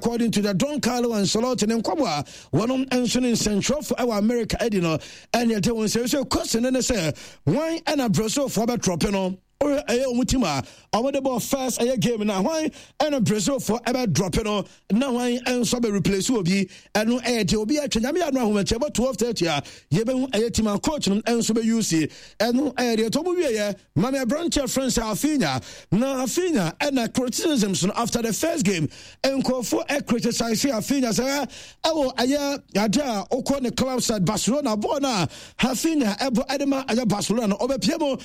According to the Don Carlo Ancelotti ne nkɔmɔ a wɔnom nso ne nsɛntwerɛfo ɛwɔ America adi no, ɛne ɛde wɔn sɛ sɛ question ne sɛ wɔn ɛna Brazilfoɔ bɛtrɔpe no. Wohwɛ ɛyɛ wɔn team a wɔde bɔ first ɛyɛ game na hwan ɛna Brazilfoɔ ɛbɛ drɔpe no na hwan nso bɛ replace obi. Ɛno ɛyɛ deɛ obi atwa nyame ano ahomakyɛ ɛbɔ 12:30 a yɛbɛhu ɛyɛ team a coach no nso bɛ use. Ɛno ɛyɛ deɛ tɔmu wieɛ. Mame aberanteɛ frɛ sɛ Afinya na Afinya ɛna criticisms no after the first game nkurɔfoɔ ɛ criticize Afinya sɛ ɛwɔ ɛyɛ ade a wokɔ ne club side Barcelona bɔɔl no a Afinya ɛbɔ ɛde ma ɛyɛ Barcelona no ɔbɛpie mu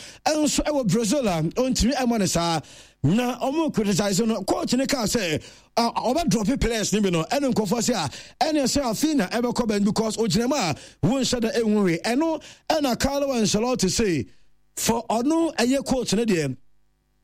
nso ɛwɔ Brazil a ɔntumi ɛmmɔ ne saa na ɔmo criticize no. Coach ne kaa sɛ ɔbɛ drop players no bi no, ɛne nkurɔfoɔ sɛ a ɛne sɛ Afinya ɛbɛkɔ bɛn because ogyina mu a wonhyɛ da ɛnhu hwee. Ɛno ɛna Carlo Ancelotti say for ɔno ɛyɛ coach no deɛ,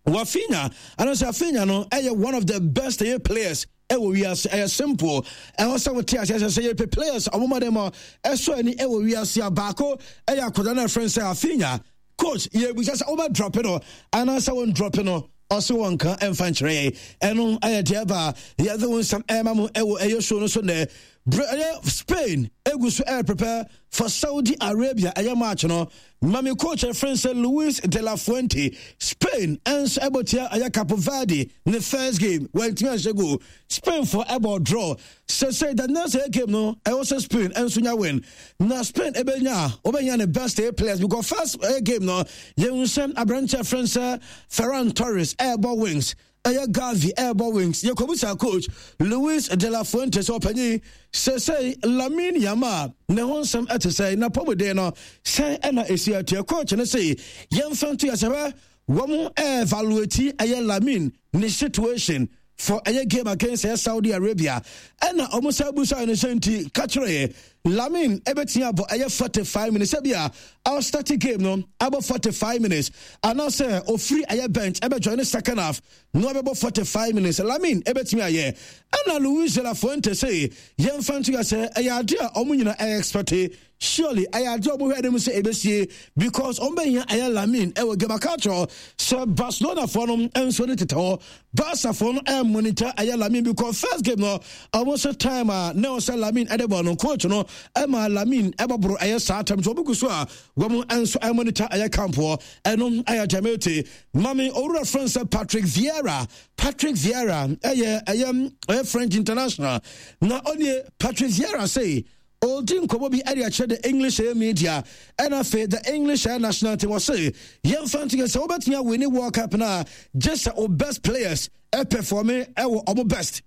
Rafinha anaasɛ Rafinha no ɛyɛ one of the best ɛyɛ players ɛwɔ wiase. Ɛyɛ simple, ɛwɔ sɛ wote aseɛ sɛ yɛpɛ players ɔmoma dɛ ma ɛsɔ ani ɛwɔ wiase a, baako ɛyɛ akwadaa no ɛfrɛ sɛ Rafinha. Coach yɛbusa sɛ wobɛ drop no anaasɛ won drop no, ɔse wɔn ka ɛmfa nkyerɛ yɛn. Ɛno ɛyɛ deɛ ɛba yɛde wo nsɛm ɛma mo ɛwɔ ɛyɛ show no so nɛ. Ɛyɛ Spain egu so ɛyɛ prepare for Saudi Arabia ɛyɛ match no. Mami coach ɛfrɛ sɛ Luis de la Fuente. Spain ɛnso ɛbɔ tia ɛyɛ Cape Verde ne first game wɔntumi anhyɛ goal. Spain fo ɛbɔ draw. Sɛsɛ the next ɛyɛ game no, ɛwɔ sɛ Spain ɛnso nya win na Spain ɛbɛnya a wɔbɛnya ne best ɛyɛ players because first ɛyɛ game no yɛn sɛ aberanteɛ ɛfrɛ sɛ Ferran Torres ɛɛbɔ wings, ɛyɛ Gavi ɛrebɔ wings. Yɛkɔbisa coach Luis de la Fuente sɛ ɔpanyin sesei Lamine Yamal ne ho nsɛm ɛte sɛ na pɔmuden no sɛn ɛna ɛsi atua. Coach no se yɛmfa nto yɛ sɛ bɛ wɔn evaluate ɛyɛ Lamine ne situation for ɛyɛ game against ɛyɛ Saudi Arabia. Ɛna wɔn sɛ busa no sɛ nti ka kyerɛ yɛ Lamine ɛbɛtumi abɔ ɛyɛ 45 minutes, sɛbi a ɔstart game no abɔ 45 minutes anaasɛ ofiri ɛyɛ bench ɛbɛjoin ne second half na ɔbɛbɔ 45 minutes, Lamine ɛbɛtumi ayɛ. Ɛna Luis de la Fuente sɛ yɛmfa nto yɛ sɛ ɛyɛ ade a ɔmo nyina ɛyɛ expect. Surely ɛyɛ ade a ɔmo hwɛ anim sɛ ɛbɛsie because ɔmo bɛhia ɛyɛ Lamine ɛwɔ game. Aka kyerɛ sɛ Barcelona foɔ no nso ne tetɛ hɔ, Barca foɔ no ɛmonitor ɛyɛ Lamine because first game no ɔmo sɛ time a na ɔsɛ Lamine ɛde bɔ no, coach no ɛma Lamine ɛbɔboro ɛyɛ saa time so ɔmo gu so a wɔn nso ɛmonitor ɛyɛ camp hɔ. Ɛno ɛyɛ Jamaica. Mami owura friend sɛ Patrick Vieira. Patrick Vieira ɛyɛ French international na ɔnie. Patrick Vieira say ɔredi nkɔmmɔ bi de akyerɛ the English ɛyɛ media ɛna afei the English ɛyɛ national team. Wɔse yɛmfa nto yɛ sɛ wobɛtumi awini World Cup no a, gye sɛ o best players ɛperforme ɛwɔ ɔmo best.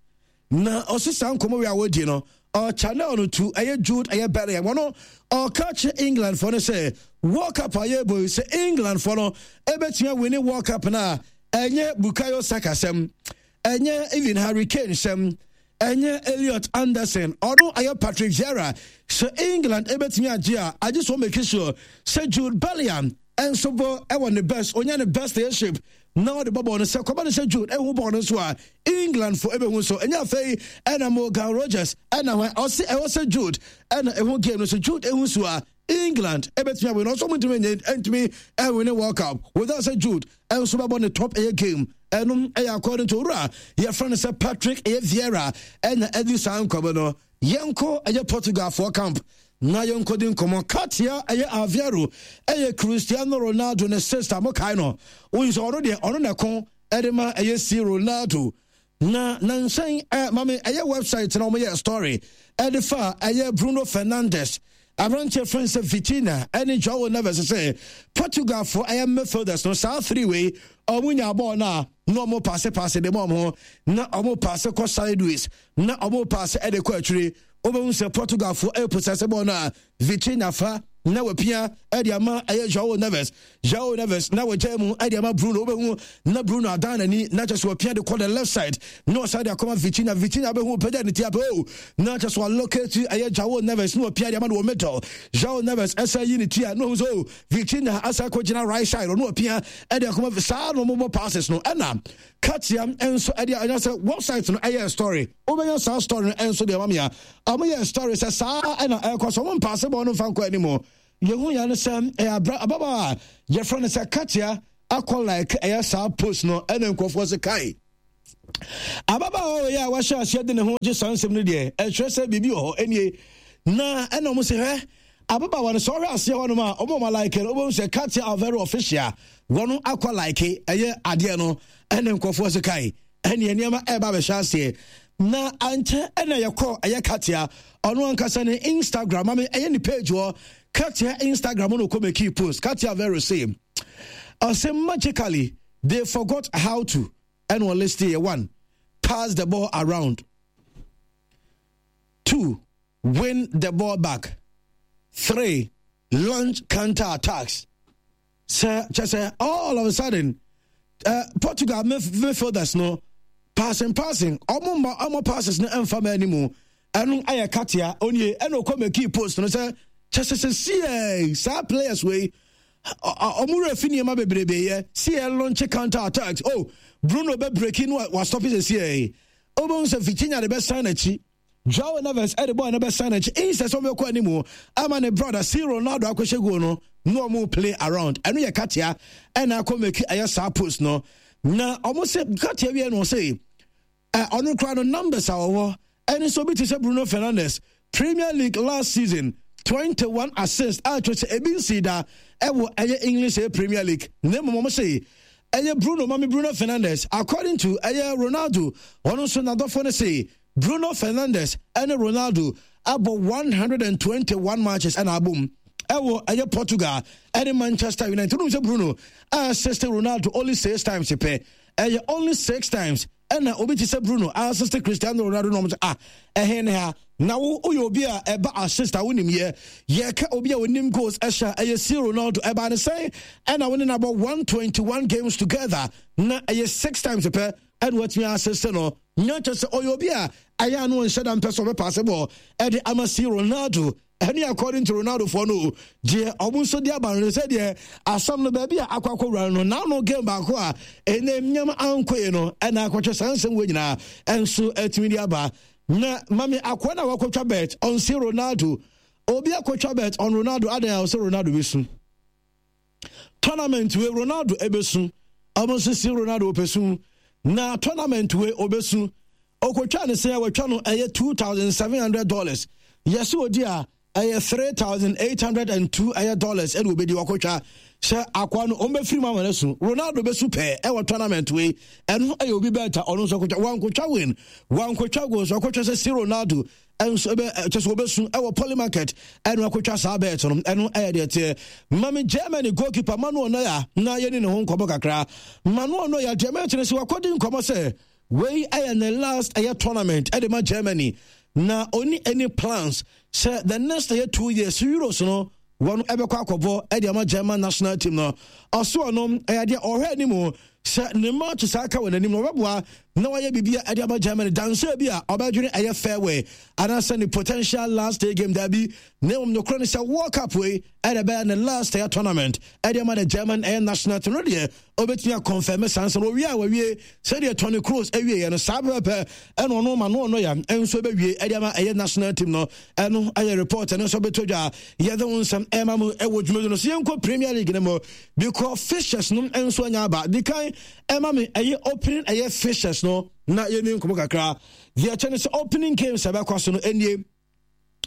Na ɔse saa nkɔmmɔ wei a wɔdi no, ɔchannel no to ɛyɛ Jude ɛyɛ Bellingham. Wɔno ɔka kyerɛ England foɔ no sɛ World Cup a yɛbɔ yi, sɛ England foɔ no ɛbɛtumi awini World Cup no a, ɛnyɛ Bukayo Saka sɛm, ɛnyɛ even Harry Kane sɛm, ɛnyɛ Elliot Anderson, ɔno ɛyɛ Patrick Vieira. Sɛ England ɛbɛtumi agye a, agye sɛ ɔmake sure sɛ Jude Bellingham ɛnso bɔ ɛwɔ ne best, ɔnya ne best ɛyɛ shape na ɔde bɔ bɔɔl no. Sɛ kɔba no sɛ Jude ɛhu bɔɔl no nso a, England fo ɛbɛhu so. Ɛnyɛ afei ɛna Morgan Rogers ɛna hɔ ɔse ɛwɔ sɛ Jude ɛna ɛhu game no so. Jude ɛhu so a, England ɛbɛtumi awin. Ɔsɔ mo ntumi nyɛ ntumi ɛwin World Cup without sɛ Jude ɛnso bɛbɔ ne top ɛyɛ game. Ɛnom ɛyɛ according to owura yɛfrɛ no sɛ Patrick ɛyɛ Vieira ɛna ɛdi saa nkɔmɔ no. Yɛnkɔ ɛyɛ Portugalfoɔ camp na yɛnkɔdi nkɔmɔ. Katia ɛyɛ Aveiro ɛyɛ Cristiano Ronaldo ne sister. Mo kae no, woyi sɛ ɔno deɛ ɔno na ɛko ɛde ma ɛyɛ si Ronaldo na nansan ɛ mame ɛyɛ website na wɔyɛ story ɛde fa ɛyɛ Bruno Fernandes, aberanteɛ frɛ sɛ Vitinha ɛne Joao Neves sɛ Portugalfoɔ ɛyɛ midfielders no, saa three wei ɔmo nya bɔɔl no a, na ɔmo paase paase de ma ɔmo ho, na ɔmo paase kɔ sideways, na ɔmo paase ɛde kɔ akyire. Wobɛhu sɛ Portugalfoɔ ɛpossess bɔɔl no a, Vitinha fa na wapia ɛde ama ɛyɛ Joao Neves. Joao Neves na wagya mu ɛde ama Bruno. Wobɛhu na Bruno adan n'ani na kyɛ sɛ wapia de kɔ the left side na ɔsan de akɔma Vitinha. Vitinha bɛhu pagya ne ti apɛ o na kyɛ sɛ walocate ɛyɛ Joao Neves na wapia de ama no wɔ middle. Joao Neves ɛsɛ yi ne ti a na ɔhu sɛ o Vitinha asa akɔgyina right side, ɔno wapia ɛde akɔma. Saa na ɔmobɔ passes no. Ɛna Katia nso ɛde ɛnya sɛ website no ɛyɛ story. Wobɛnya saa story no nso deɛ mame a ɔmo yɛ story sɛ saa ɛna ɛkɔ so. Ɔmo mpaase bɔɔ no mfa nkɔ anim. Yɛhu yɛn no sɛ ɛyɛ abra ababaawa a yɛfrɛ no sɛ Katia akɔ like ɛyɛ saa post no, ɛna nkurɔfoɔ sɛ kai. Ababaawa wei a wahyɛ aseɛ de ne ho gye saa nsɛm no deɛ, ɛkyerɛ sɛ biribi wɔ hɔ ɛnie. Na ɛna wɔn sɛ hwɛ ababaawa no sɛ ɔhwɛ aseɛ hɔnom a wɔn a wɔn like no wɔbɛhu sɛ Katia Alvaro official wɔn akɔ like ɛyɛ adeɛ no ɛne nkurɔfoɔ sɛ kae ɛne nneɛma ɛreba abɛhyɛ aseɛ na ankyɛ ɛna yɛkɔ ɛyɛ Katia ɔno ankasa ne Instagram mame ɛyɛ ne page hɔ Katia Instagram no kɔ make post Katia Alvaro say ɔsɛ magically they forgot how to ɛna ɔliste yɛ one pass the ball around two win the ball back three launch counter attacks sɛ kyɛ sɛ all of a sudden uh, Portugal midfielders no passing passing ɔmo mma ɔmo passes no ɛnfa mɛ anim ɛno ayɛ katea onie ɛna ɔkɔ mɛkii post no sɛ kyɛ sɛ sɛ siɛ saa players wei ɔmo werɛ fi nneɛma bebrebe yɛ si yɛ launch counter attacks oh Bruno bɛ breaki no wa stop sɛ siɛ ɔbɛn sɛ Vitinha de bɛsan n'akyi Joao Neves ɛde bɔɔl no bɛsan n'akyi instead sɛ ɔbɛkɔ anim ama ne brother si Ronaldo akɔhyɛ goal no na ɔmo play around ɛno yɛ katea ɛna akɔ mɛki ɛyɛ saa post no na ɔmo sɛ katea wie no ɔsɛ Ɛ ɔno koraa no numbers a ɔwɔ ɛne sɛ obi te sɛ Bruno Fernandes Premier League last season 21 assists a kyerɛ sɛ ebi nsii da ɛwɔ ɛyɛ English ɛyɛ Premier League na mmom wɔn se ɛyɛ Bruno mame Bruno Fernandes according to ɛyɛ Ronaldo ɔno nso n'adɔfoɔ no se Bruno Fernandes ɛne Ronaldo abɔ 121 matches ɛna abom ɛwɔ ɛyɛ Portugal ɛne Manchester United wọ́n sɛ Bruno assist Ronaldo only six times pɛ ɛyɛ only six times ɛna obi te sɛ Bruno assist Cristiano Ronaldo na wɔn sɛ ah ɛhe ne ha na wo woyɛ obi a ɛba assist a wonim yɛ yɛka obi a onim goals ɛhyɛ ɛyɛ si Ronaldo ɛba ne sɛn ɛna wo ne no abɔ 121 games together na ɛyɛ six times pɛ ɛna watumi assist no nya kyɛ sɛ ɔyɛ obi a ɛyɛ ano nhyɛ da mpɛ sɛ ɔbɛpaase bɔɔl ɛde ama si Ronaldo Ɛne according to Ronaldo foɔ no deɛ ɔmo nso de aba no sɛ deɛ asɛm no baabi a akɔ akɔwura no n'ano game baako a ɛnɛ nneɛma ankɔ yie no ɛna akɔtwe saa nsɛm wɔ nyinaa ɛnso ɛtumi de aba na mami akoa na wakɔtwa bet on si Ronaldo obi akɔtwa bet on Ronaldo adan a ɔsɛ Ronaldo bɛsu tournament wei Ronaldo ɛbɛsu ɔmo nso si Ronaldo ɔpɛ su na tournament wei ɔbɛsu ɔkɔtwa ne sɛ wɔtwa no ɛyɛ $2,700 yɛsɛ ɔdi a ɛyɛ 3,802 ɛyɛ dollars ɛna ɔbɛdi wakɔtwa sɛ akoa no ɔmbɛfiri mu ama no su Ronaldo bɛsu pɛɛ ɛwɔ tournament wei ɛno ɛyɛ obi bɛɛta ɔno nso akɔtwa wankɔtwa win wankɔtwa goals wakɔtwa sɛ si Ronaldo nso ɛbɛ kyɛ sɛ wɔbɛsu ɛwɔ poly market ɛno akɔtwa saa bɛɛt no ɛno ɛyɛ deɛ teɛ mame Germany goalkeeper Manuel Neuer na yɛni ne ho nkɔmmɔ kakra Manuel Neuer deɛ mɛkyerɛ sɛ wakɔdi nkɔmmɔ sɛ wei ɛyɛ ne last ɛyɛ tournament ɛde ma Germany na ɔni any plans sɛ the next ɛyɛ 2 years Euros no wɔn ɛbɛkɔ akɔbɔ ɛde ama German national team no ɔso ɔno ɛyɛ deɛ ɔhwɛ anim sɛ ne match saa ka wɔ n'anim no ɔbɛboa na wayɛ biribi a ɛde ama Germany danso bi a ɔbɛdwene ɛyɛ farewell anaasɛ ne potential last day game daabi na mmom nokorɛ no sɛ World Cup wei ɛna ɛbɛyɛ ne last ɛyɛ tournament ɛde ama the German ɛyɛ national team no deɛ ɔbɛtumi akɔnfɛme saa nsɛm owie a wawie sɛdeɛ Toni Kroos awieɛ no saa pɛpɛpɛ ɛna ɔno ma no ɔno yɛ nso bɛwie ɛde ama ɛyɛ national team no ɛno ɛyɛ report ɛno nso bɛtɔ dwa yɛde ho nsɛm ɛma mu ɛwɔ dwumadi no so yɛnkɔ Premier League no mu because fixtures no nso anya aba di kan ɛma me ɛyɛ opening ɛyɛ fixtures no na yɛni nkɔmɔ kakra deɛ ɛkyɛ no sɛ opening games ɛbɛkɔ so no ɛnie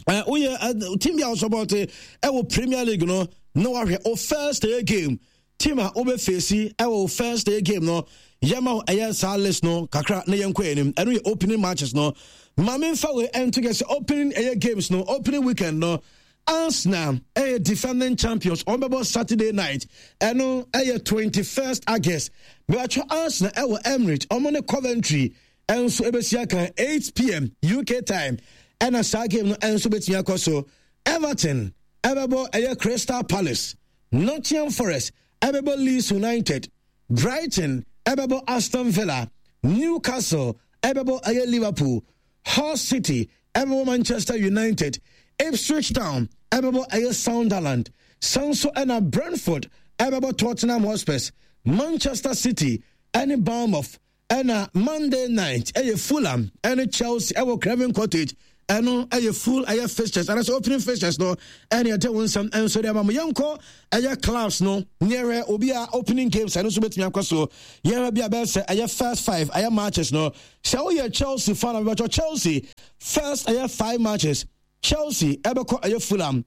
woyɛ team bi a wosɔpɔte ɛwɔ Premier League no na wahwɛ o first day game team a wobɛfeesi ɛwɔ o first day game no yɛma ɛyɛ saa list no kakra na yɛnkɔ anim ɛno yɛ opening matches no ma memfa wei ɛnto kɛ sɛ opening ɛyɛ games no opening weekend no Arsenal ɛyɛ defending champions wɔn bɛbɔ Saturday night ɛno ɛyɛ 21st August bɛtwa Arsenal ɛwɔ Emirates wɔn ne Coventry ɛnso ɛbɛsi akan 8 pm UK time ɛna saa game no ɛnso bɛtumi akɔ so Everton ɛbɛbɔ ɛyɛ Crystal Palace Nottingham Forest ɛbɛbɔ Leeds United Brighton ɛbɛbɔ Aston Villa Newcastle ɛbɛbɔ ɛyɛ Liverpool Hull City ɛbɛbɔ Manchester United Ipswich Town ɛbɛbɔ ɛyɛ Sunderland sanso ɛna Brentford ɛbɛbɔ Tottenham Hotspurs Manchester City ɛne Bournemouth ɛna Monday night ɛyɛ Fulham ɛne Chelsea ɛwɔ Craven Cottage. Ɛno ɛyɛ full ɛyɛ fixtures anaasɛ opening fixtures no ɛne ɛde wo nsɛm nso de ama mo. Yɛnkɔ ɛyɛ clubs no neɛhwɛ obi a opening games ɛno nso bɛtumi akɔ so. Yɛhwɛ bi a bɛyɛ sɛ ɛyɛ first five ɛyɛ matches no. Sɛ woyɛ Chelsea fan a, bɛbɛtɔ Chelsea first ɛyɛ five matches. Chelsea ɛbɛkɔ ɛyɛ Fulham,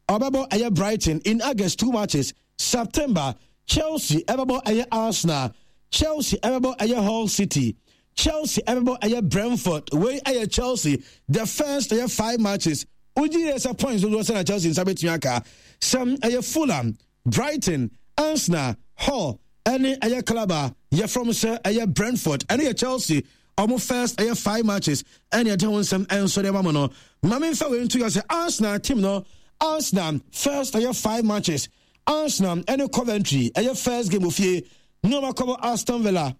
ɔbɛbɔ ɛyɛ Brighton in August, two matches. September, Chelsea ɛbɛbɔ ɛyɛ Arsenal, Chelsea ɛbɛbɔ ɛyɛ Hull City, Chelsea ɛbɛbɔ ɛyɛ Brentford. Wei ɛyɛ Chelsea the first ɛyɛ five matches. Wogye yɛ sɛ points dodoɔ sɛ na Chelsea nsa bɛtumi aka sɛm ɛyɛ Fulham, Brighton, Arsenal, Hull ɛne ɛyɛ club a yɛfrɛ mo sɛ ɛyɛ Brentford. Ɛno yɛ Chelsea ɔmo first ɛyɛ five matches ɛne ɛde ho nsɛm ɛnso de ama mo no. Maame nfa wei nto yɛ sɛ Arsenal team no, Arsenal first ɛyɛ five matches, Arsenal ɛne Coventry ɛyɛ first game ofie, ne ɔmo akɔbɔ Aston Villa,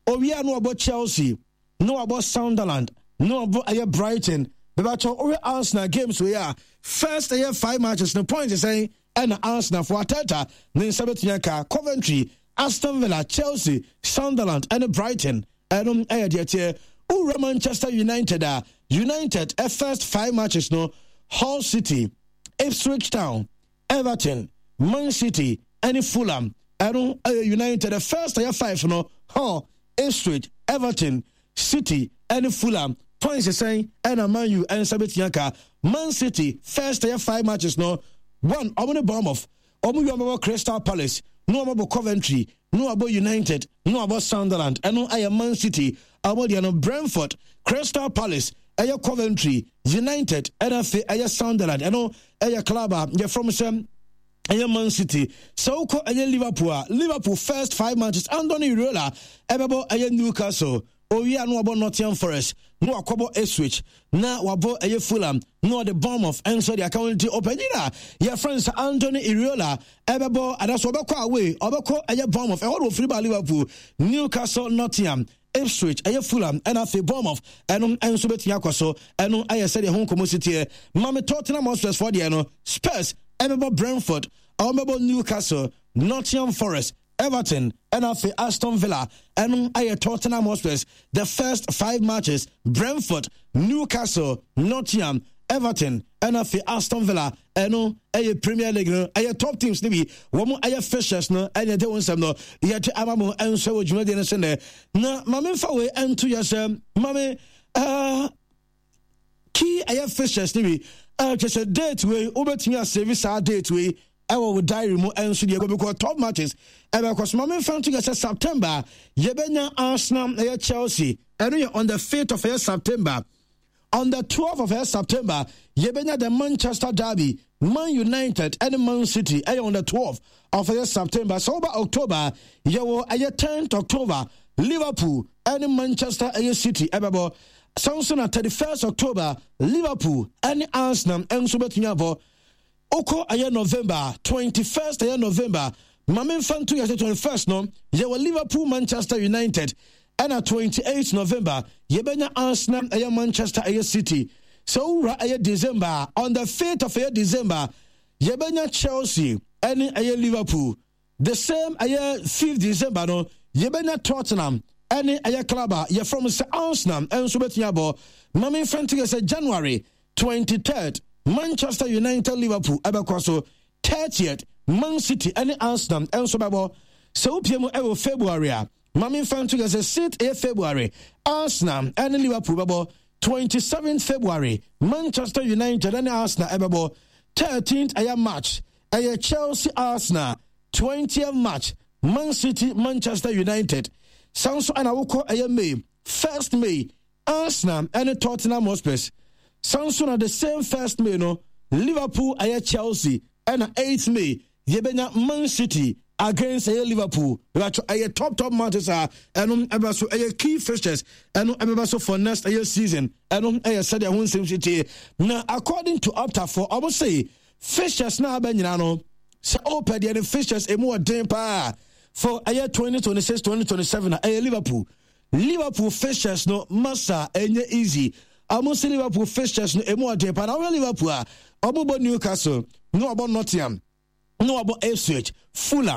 owia no ɔbɔ Chelsea, ne wabɔ Sunderland, ne wabɔ ɛyɛ Brighton. Bɛbɛtɔ wohwɛ Arsenal games wei a, first ɛyɛ five matches no, points sɛn ɛna Arsenal fo Arteta ne nsa bɛtumi aka? Coventry, Aston Villa, Chelsea, Sunderland ɛne Brighton. Ɛno ɛyɛ deɛ teɛ. Wowura Manchester United a, United ɛ first five matches no, Hull City, Ipswich Town, Everton, Man City ɛne Fulham. Ɛno ɛyɛ United the first ɛyɛ five no, Hull, Ipswich, Everton, City ɛne Fulham. Points sɛn ɛna Man U ɛnsa bɛtumi aka? Man City first ɛyɛ five matches no, one ɔmo ne Bournemouth, ɔmo wie ɔmo bɛbɔ Crystal Palace, na ɔmo bɔ Coventry, na wabɔ United, na wabɔ Sunderland. Ɛno ɛyɛ Man City ɔmo deɛ no. Brentford, Crystal Palace, ɛyɛ Coventry, United ɛna afei ɛyɛ Sunderland. Ɛno ɛyɛ club a yɛfrɛ mo sɛ ɛyɛ Man City. Sɛ wokɔ ɛyɛ Liverpool a, Liverpool first five matches, Andoni Iraola ɛbɛbɔ ɛyɛ Newcastle, owia no wabɔ Nottingham Forest, na wakɔbɔ Ipswich, na wabɔ ɛyɛ Fulham, na ɔde Bournemouth nso de aka wɔn. Nti ɔpanyin a yɛfrɛ no sɛ Andoni Iraola ɛbɛbɔ adaso, ɔbɛkɔ away, ɔbɛkɔ ɛyɛ Bournemouth, ɛhɔ na ofiri ba Liverpool, Newcastle, Nottingham, Ipswich, ɛyɛ Fulham ɛna afei Bournemouth. Ɛno nso bɛtumi akɔ so. Ɛno ɛyɛ sɛdeɛ ho nkɔmmɔ si teɛ. Mame Tottenham Hotspurs foɔ deɛ no, Spurs ɛbɛbɔ Brentford, ɔbɛbɔ Newcastle, Nottingham Forest, Everton ɛna afei Aston Villa. Ɛno ɛyɛ Tottenham Hotspurs the first five matches, Brentford, Newcastle, Nottingham, Everton ɛna afei Aston Villa. Ɛno ɛyɛ Premier League no, ɛyɛ top teams no bi wɔn ɛyɛ fixtures no ɛna ɛde wɔn nsɛm no yɛde ama mo nso wɔ dwumadie no so nɛ. Na maame nfa wei ɛnto yɛ sɛ maame key ɛyɛ fixtures no bi ɛkyɛ sɛ date wei wobɛtumi asave saa date wei ɛwɔ wo diary mu ɛnso deɛ because top matches ɛbɛkɔ so. Maame nfa nto yɛ sɛ September yɛbɛnya Arsenal ɛyɛ Chelsea, ɛno yɛ on the 5th of ɛyɛ September. On the 12th of September, yɛbɛnya the Manchester Derby, Man United ɛne Man City, ɛyɛ on the 12th of September. Sɛ woba October, yɛwɔ ɛyɛ 10th October, Liverpool ɛne Manchester ɛyɛ City ɛbɛbɔ. Sɛ nso na 31st October, Liverpool ɛne Arsenal ɛnso bɛtumi abɔ. Wokɔ ɛyɛ November, 21st ɛyɛ November, ma memfa nto yɛ sɛ 21st no yɛwɔ Liverpool Manchester United, ɛna 28 November yɛbɛnya Arsenal ɛyɛ Manchester ɛyɛ City. Sɛ wowura ɛyɛ December, on the 5th of ɛyɛ December, yɛbɛnya Chelsea ɛne ɛyɛ Liverpool. The same ɛyɛ 5th December no yɛbɛnya Tottenham ɛne ɛyɛ club a yɛfrɛ mo sɛ Arsenal ɛnso bɛtumi abɔ. Ma memfa nto yɛ sɛ January 23rd, Manchester United Liverpool ɛbɛkɔ so. 30th, Man City ɛne Arsenal ɛnso bɛbɔ. Sɛ wopie mu ɛwɔ February a, ma memfa nto yɛ sɛ 6th ɛyɛ February, Arsenal ɛne Liverpool bɛbɔ. 27th February, Manchester United ɛne Arsenal ɛbɛbɔ. 13th ɛyɛ March, ɛyɛ Chelsea Arsenal. 20th March, Man City Manchester United. San so ɛna wokɔ ɛyɛ May, 1st May, Arsenal ɛne Tottenham Hotspurs. San so na the same 1st May no, Liverpool ɛyɛ Chelsea, ɛna 8th May yɛbɛnya Man City against ɛyɛ Liverpool. Ɛbɛtɔ ɛyɛ top top matches a ɛno ɛbɛ so ɛyɛ key fixtures, ɛno ɛbɛbɛ so for next ɛyɛ season. Ɛno ɛyɛ sɛdeɛ ho nsɛm si tie. Na according to Opta for ɔmo se fixtures na aba nyinaa no, sɛ ɔpɛ deɛ ne fixtures emu ɔden paa for ɛyɛ 2026 2027 a, ɛyɛ Liverpool fixtures no masa ɛnyɛ easy. Ɔmo se Liverpool fixtures no emu ɔden paa. Na ɔhwɛ Liverpool a, ɔmo bɔ Newcastle, na ɔbɔ Nottingham, na ɔbɔ Ipswich, Fulham.